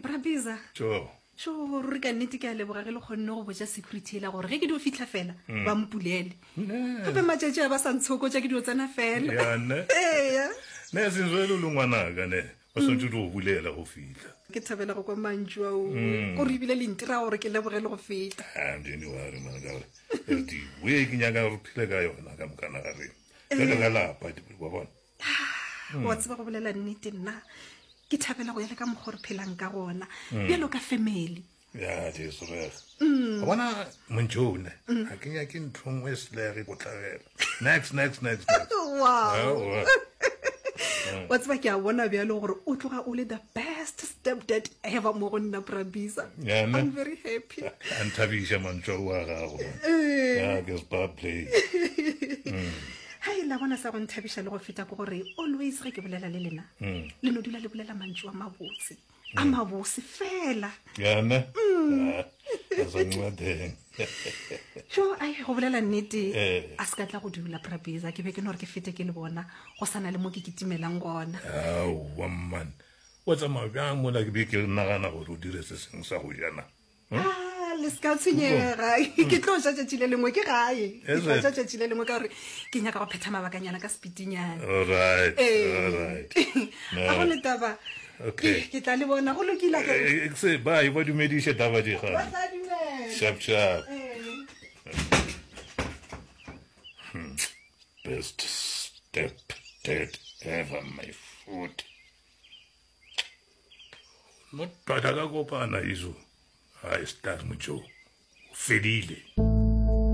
Brabiza. Tšo. Tšo, ruri ka nnete ke a leboga ge le kgonne go botša security ela gore ge ke dio fihla fela mm. ba mpulele. Gape matšatši a ba sa ntshokotša ke dio tsena fela. Ya ne. Eya. Ne senswe le ngwanaka ne. Ba swantse di go bulela go fihla. Ke thabela go kwa mantšu ao. Mm. Gore ebile le ntira gore ke leboge le go feta. Ah, don't worry man ka gore the way ke nyaka gore phele ka yona ka mokana ga rena. Jalo ka lapa wa bona. Ah, wa tseba go bolela nnete nna ke thabela go ya le ka mokgwa re phelang ka gona mm. bjalo ka family ya jesu reg mm. wa bona montšone mm. ga ke nyake ntho nngwe e selege go tlagela next next next wow wa tseba ke a bona bjalo gore o tloga o le the best step dad ever mo go nna brabisa i'm very happy a nthabiša mantšwa o a gago eh. ya ke spa play Hai, la bona sa go nthabiša le go feta ke gore always ge ke bolela le lena mm. le no dula le bolela mantšu a mabotse a mm. mabose fela yana mm. jo ai go bolela nnete eh. a se ka tla go dula prabeza ke be ke no gore ke fete ke le bona go sana le mo ke kitimelang gona aowa man wa tsamaya bjang mola ke be ke nagana gore o dire se sengwe sa go jana Ah, le se ka tshwenyega ke tlo ja tšatši le lengwe ke gae ke tlo ja tšatši le lengwe ka gore ke nyaka go phetha mabakanyana ka sepitinyana Alright, Ee. alright. a go le taba Okay. ke ke tla le bona go lokile akere? Eh, eh, se bye ba dumediše taba di Ba gane tla dumela sharp sharp Ee. best step dad ever my foot No tata ka kopana izo. Hai star mojo. O fedile.